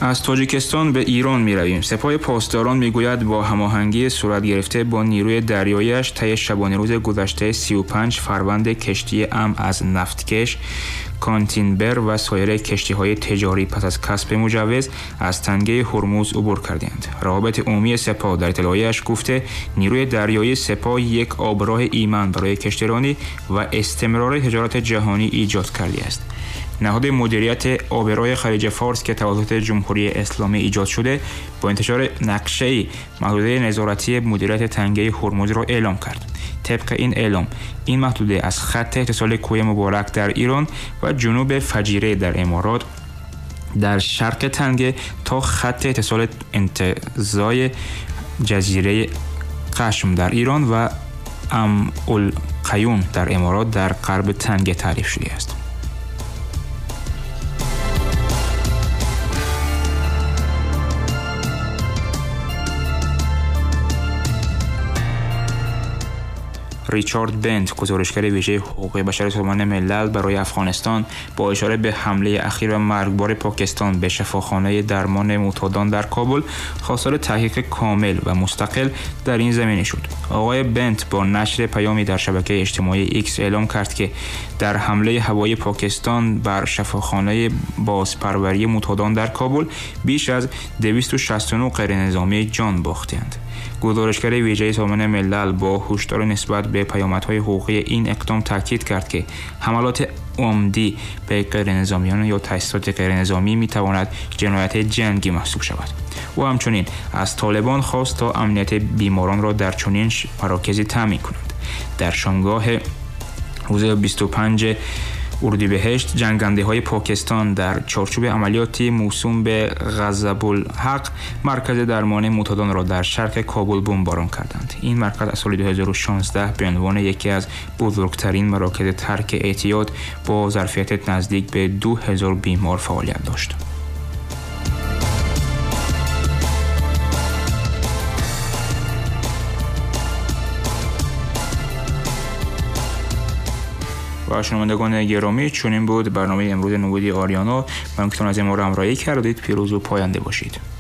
از تاجیکستان به ایران می رویم. سپاه پاسداران می گوید با هماهنگی صورت گرفته با نیروی دریایش طی شبانه روز گذشته 35 فروند کشتی از نفتکش کانتینبر و سایر کشتی‌های تجاری پس از کسب مجوز از تنگه هرمز عبور کردند. روابط عمومی سپاه در اطلاعیه‌اش گفته نیروی دریایی سپاه یک آبراه ایمن برای کشتیرانی و استمرار تجارت جهانی ایجاد کرده است. نهاد مدیریت آبراه خلیج فارس که توسط جمهوری اسلامی ایجاد شده با انتشار نقشه‌ای محدوده نظارتی مدیریت تنگه هرمز را اعلام کرد. طبق این اعلام این محدوده از خط اتصال کوه مبارک در ایران و جنوب فجیره در امارات در شرق تنگه تا خط اتصال انتزاع جزیره قشم در ایران و ام القیون در امارات در غرب تنگه تعریف شده است. ریچارد بنت، گزارشگر ویژه حقوق بشر سازمان ملل برای افغانستان، با اشاره به حمله اخیر و مرگبار پاکستان به شفاخانه درمان معتادان در کابل، خواستار تحقیق کامل و مستقل در این زمینه شد. آقای بنت با نشر پیامی در شبکه اجتماعی ایکس اعلام کرد که در حمله هوایی پاکستان بر شفاخانه بازپروری معتادان در کابل بیش از 269 غیرنظامی جان باختند. گزارشگر ویژه سازمان ملل با هشدار نسبت به پیامدهای حقوقی این اقدام تاکید کرد که حملات عمدی به غیرنظامیان یا تأسیسات غیرنظامی میتواند جنایت جنگی محسوب شود. او همچنین از طالبان خواست تا امنیت بیماران را در چنین مراکزی تامین کنند. در شامگاه روز 25 اردیبهشت جنگنده‌های پاکستان در چارچوب عملیاتی موسوم به غضب الحق مرکز درمان معتادان را در شرق کابل بمباران کردند. این مرکز از سال 2016 به عنوان یکی از بزرگترین مراکز ترک اعتیاد با ظرفیت نزدیک به 2000 بیمار فعالیت داشت. و شنوندگان گرامی، چنین بود برنامه امروز نوید آریانا. ممنون که از ما را همراهی کردید. پیروز و پاینده باشید.